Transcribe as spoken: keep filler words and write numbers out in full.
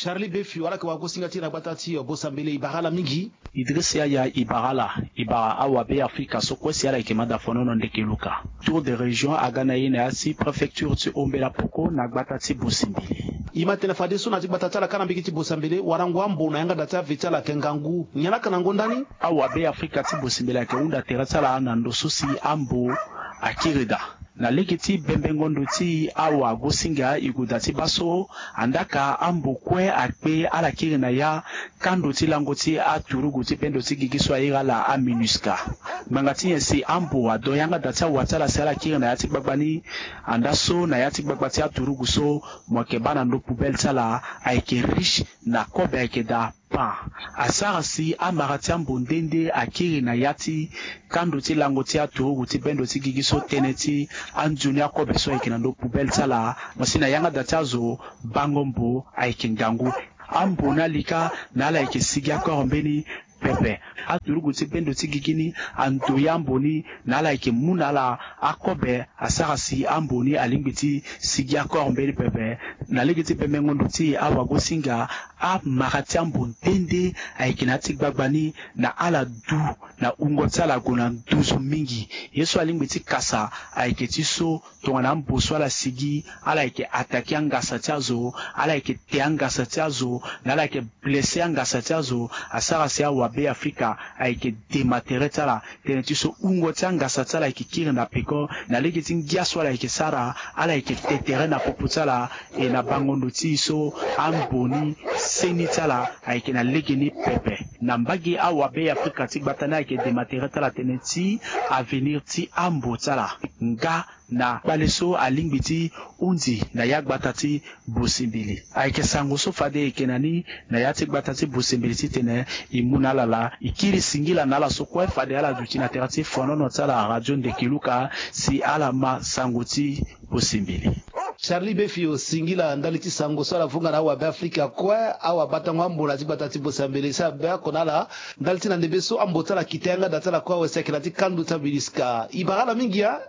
Charlie Befio, ala yeke wagosinga ti e na gbata ti Bosambele, e bara ala mingi. Idriss Yaya, e bara ala, e bara awabe Afrika so kue si ala yeke mada fonono ndeke luka. Tour de région aga na e na ya ti préfecture ti Ombela Poko na gbata ti Bosembele. E ma tene fadeso na ya ti gbata ti ala kâ na mbage ti Bosambele, warango ambo na yanga da ti ave ti ala ayeke ngangu. Nyen la yeke na ngonda ni? Awabe Afrika ti Bosembele ayeke hunda tere ti ala na ndo so si ambo akiri daa. Na lege ti bembengo ndo ti awagosinga, e gue daa ti baa so, andaa ka ambo kue akpe ala kiri na ya kando ti lango ti aturugu ti bendo ti gigi so a iri ala aMINUSCA. Ngbanga ti nyen si ambo adon yanga da ti awa ti ala si ala kiri na ya ti gbagba ni? Andaa so na ya ti gbagba ti aturugu so, mo yeke baa na ndo poubelle ti ala ayeke riche na kobe ayeke daa pan. Asara si amara ti ambo nde nde akiri na ya ti kando ti lango ti aturugu ti bendo ti gigi so, tënë ti anzoni akobe so ayeke na ndo poubelle ti ala. Mo si na yanga da ti azo, bango mbo ayeke ngangu. Ambo na ali kâ na ala yeke sigi akoro mbeni pepe. Aturugu ti bendo ti gigi ni, ando ya ambo ni na ala yeke mu na ala akobe, asara si ambo ni alingbi ti sigi akoro mbeni pepe. Na lege ti bembengo ndo ti e awagosinga, amara ti ambo nde nde ayeke na ya ti gbagba ni na ala du na wungo ti ala ague na nduzu mingi. Ye so alingbi ti kasa ayeke ti so, tongana ambo so ala sigi, ala yeke attaquer angasa ti azo, ala yeke te angasa ti azo, na ala yeke blesser angasa ti azo, asara si awabe Afrika ayeke dématerer ti ala, tënë ti so wungo ti angasa ti ala ayeke kiri na peko, na lege ti ngia so ala yeke sara, ala yeke te tere na popo ti ala. E na bango ndo ti e so, ambo ni seni ti ala ayeke na lege ni pepe. Na mbage awabe Afrika ti gbata ni ayeke dématerer ti ala tënë ti avenir ti ambo ti ala. Nga na kpale so alingbi ti hunzi na ya gbata ti Bosembele. Ayeke sango so fade e yeke na ni na ya ti gbata ti Bosembele titene e mu na ala laa. E kiri singila na ala so kue fade ala duti na tere ti fonono ti ala Radio Ndeke Luka si ala ma sango ti Bosembele. Charlie Befio, singila ndali ti sango so ala vunga na awabe Afrika kue, awabatango ambo na ya ti gbata ti Bosambele si abaa oko na ala ndali ti na ndembe so ambo ti ala kita yanga da ti ala kue awe si ayeke na ya ti kando ti aMINUSCA. E bara ala mingi a.